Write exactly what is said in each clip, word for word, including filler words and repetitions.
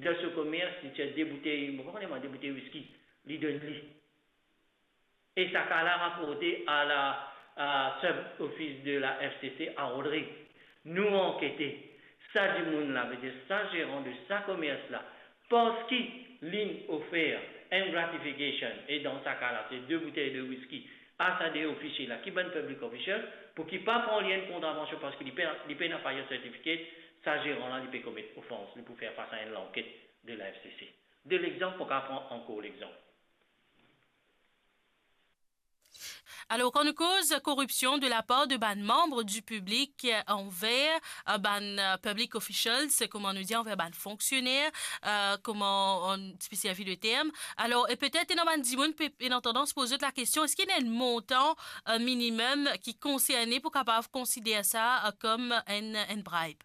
dan so komers, li tir de boutey, mo pa kone mwa, de boutey wiski, li donn li. E sa ka la raporte a la, a sub office de la F C C a Rodrig. Nou ankete, sa dimoun la, vedir sa zeran de sa komers la, parski linn ofer enn gratification, e dan sa ka la, se de boutey de wiski, a sa de ofisie la, ki bann public official, pou ki pa pran li enn kontravansion, parski li pena, li pena fire certificate, sa zeran la, li pe komet ofans, li pou fer fas a enn lanket de la F C C. De lexanp, mo ka pran ankor lexanp. Alor, kan nou koz koripsion de lapar de bann manm di piblik, eh, anver, eh, bann, eh, public officials, kouma nou dir, anver bann fonksioner, eh, kouma nou ti pe servi le term. Alor, e petet ena bann dimoun pe, ena tandans poz zot lakestion, eski ena enn montan, eh, minimem ki konserne pou kapav konsider sa, eh, kom enn, enn bribe?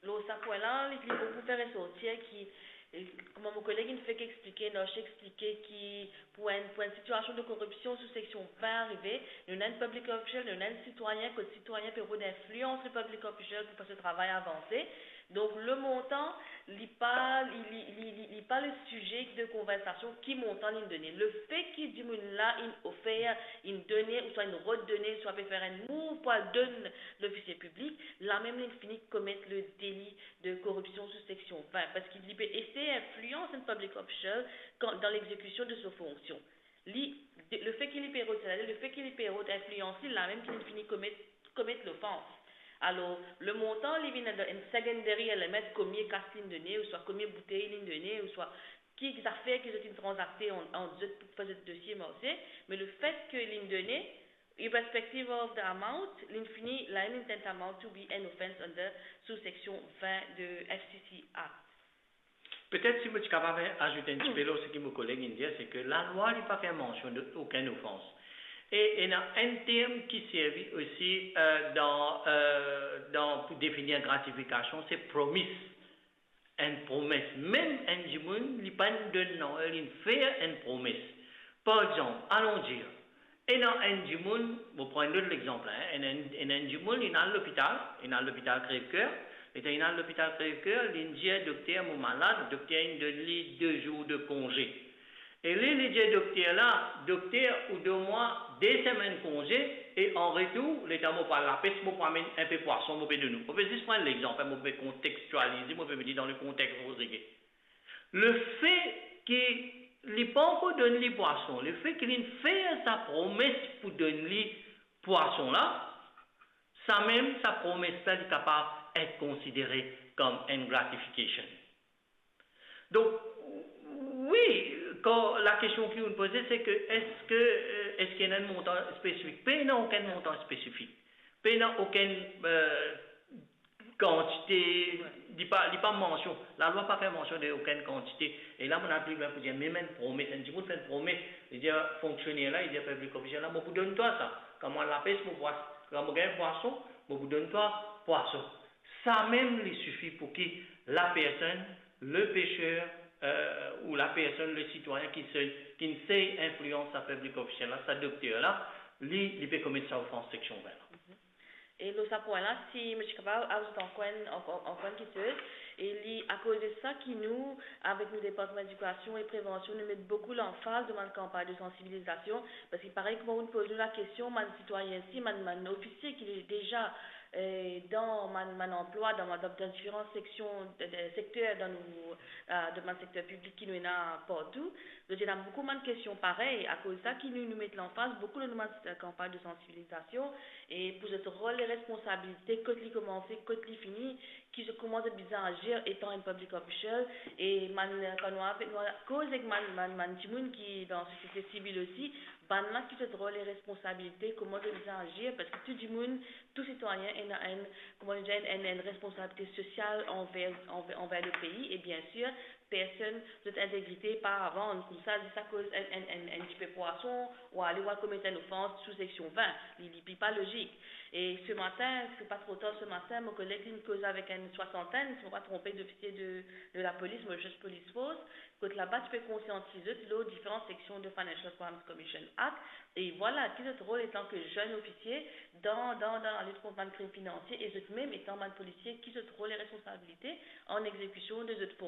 Lor sa pwin la, li, li boukou fer resortir ki, eh, kouma mo koleg inn fek explike, Nosh explike ki pou enn, pou enn sitiasion de koripsion sou seksion vin arive, nou ena enn public official, nou ena enn sitwayin, kot sitwayin pe rod inflians le public official pou fer so travay avanse. Donk, le montan, li pa, li, li, li, li, li pa le size de konversasion ki montan li'nn done. Lefe ki dimoun la inn ofer, inn done, ouswa inn rod done, ouswa pe fer enn mouv pou al donn lofisie piblik, lamem li'nn fini komet le deli de koripsion sou seksion vin, parski li pe esey inflians enn public official kan, dan lexekision de so fonksion. Li, de, lefe ki li pe rod, setadir lefe ki li pe rod inflians li, lamem ki li'nn fini komet, komet lofans. Alor, le montan, li vinn enn, enn secondary element, komie kas li'nn done, ouswa komie boutey li'nn done, ouswa ki zafer ki zot inn tranzakte ant, ant zot pou fer zot dosie marse, me lefet ke li'nn done, irrespective of the amount, li'nn fini, lamem li'nn tantamount to be an offence under sou seksion vin de F C C Act. Petet si mo ti kapav azout enn tipe lor seki mo koleg inn dir, se ke lalwa li pa fer mansion de okenn ofans. E ena enn term ki servi osi, eh, dan, eh, dan, pou definir gratifikasion, se promise. Enn promes. Mem enn dimoun, li pa'nn donn nanye, li'nn fer enn promes. Par exanp, alon dir, ena enn dimoun, mo pran enn lot lexanp la, en, ena enn, ena enn dimoun, li'nn al lopital, li'nn al lopital krev ker, letan li'nn al lopital krev ker, li'nn dir dokter, mo malad, dokter inn donn li de zour de konze. E li, li dir dokter la, dokter, ou donn mwa de semenn konze, e an retour, letan mo pou al lapes, mo pou amenn enpe pwason, mo pe donn ou. Mo pe zis pran enn lexanp, mo pe kontekstialize, mo pe met li dan le kontex Rodrig. Lefe ki li pa ankor donn li pwason, lefe ki li'nn fer sa promes pou donn li pwason la, samem sa promes la, li kapav et konsidere kom enn gratification. Donk, wi, kan lakestion ki ou'nn poze, se ke eski, eh, eski ena enn montan spesifik? Pena okenn montan spesifik. Pena okenn, eh, kantite, li pa, li pa mansion. Lalwa pa fer mansion de okenn kantite. E la, mo al pli lwin pou dir, mem enn promes, enn dimoun fer enn promes, li dir fonksioner la, li dir public official la, mo pou donn twa sa. Kan mo al lapes, mo pwas-, kan mo gagn pwason, mo pou donn twa pwason. Samem li sifi pou ki lapersonn, le peser, eh, ou lapersonn, le sitwayin ki se, ki'nn sey inflians sa public official la, sa dokter la, li, li pe komet sa ofans seksion vin la. E lor sa pwin la, si mo ti kapav azout ankor enn, ankor, ankor enn kiksoz, e li akoz de sa ki nou, avek nou Departman Ledikasion e Prevansion, nou met boukou lanfaz dan bann kanpagn de sansibilizasion, parski parey kouma ou'nn poz nou lakestion, bann sitwayin si, bann, bann ofisie ki deza, eh, dan bann, bann anplwa, dan, dan, dan diferan seksion, de, de, sekter dan nou, eh, dan bann sekter piblik ki nou ena partou, zot ena boukou bann kestion parey, akoz sa ki nou, nou met lanfaz boukou lor nou bann, eh, kanpagn de sansibilizasion, e pou zot rol e responsabilite, kot li koumanse, kot li fini, ki zot, kouma zot bizin azir etan enn public official, e bann, kan nou ave-, nou koz ek bann, bann, bann dimoun ki dan sosiete sivil osi, bannla ki zot rol e responsabilite, kouma zot bizin azir, parski tou dimoun, tou sitwayin ena enn, kouma nou dir, enn, enn, enn responsabilite sosial anver, anver, anver le pei, e biensir, personn, zot integrite pa avan, koumsa, zis akoz enn, enn, enn, enn tipe pwason, ou ale, ou al komet enn ofans sou seksion vin, li, li, li pa lozik. E se matin, se pa tro tar se matin, mo koleg li'nn koz avek enn swasantenn, si mo pa tronpe, zofisie de, de lapolis, Mauritius Police Force, kot laba ti pe konsiantiz zot lor diferan seksion de Financial Crimes Commission Act, e vwala ki zot rol etan ke zenn ofisie dan, dan, dan lalit kont bann krim finansie, e zot mem etan bann polisie, ki zot rol e responsabilite an exekision de zot fon.